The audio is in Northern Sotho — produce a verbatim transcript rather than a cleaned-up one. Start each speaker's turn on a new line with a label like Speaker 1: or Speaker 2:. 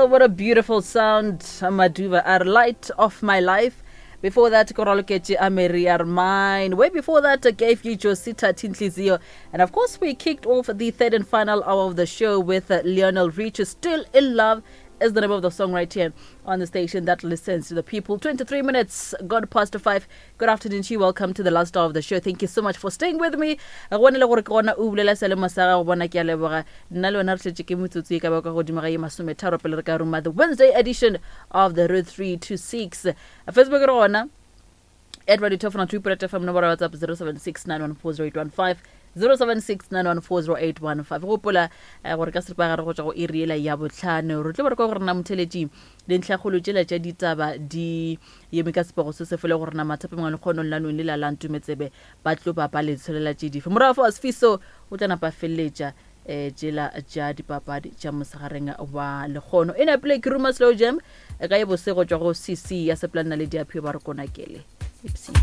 Speaker 1: Well, what a beautiful sound. Maduva are light of my life. Before that, Koraloketche Ameri are mine. Way before that, I gave you Josita Tintlizio. And of course, we kicked off the third and final hour of the show with uh, Lionel Richie, Still in Love is the name of the song right here on the station that listens to the people. twenty-three minutes gone past five. Good afternoon to you. Welcome to the last hour of the show. Thank you so much for staying with me. Go ne le gore ke gona o bulela selemo sa gago bona ke a leboga. Nna le wena re tletse ke metsotso e ka ba ka godimo ga ye masometharo pele re ka ruma the Wednesday edition of the Road three to six. Facebook re gona at Radio Top two point F M, nomoro ya WhatsApp zero seven six nine one four zero eight one five, zero seven six nine one four zero eight one five. Gopola, eh, gore ka seripagare go tšwa go iri ela ya bohlano. Re tlo ba re kwa gore na motheletši dintlhakgolo tšela tša ditaba di eme ka sepego se se fele gore na mathape mangwe le kgonong la nong le la la Ntumetsebe ba tlo ba ba le tsholela tše dife. Morago fa Sfiso o tla napa feleletša, eh, tšela tša dipapadi tša mosegareng wa lekgono. E napile ke ruma Slow Jam, e ka e bose go tšwa go C C ya Seplanna le Diaphio ba re konakele. Ipsene.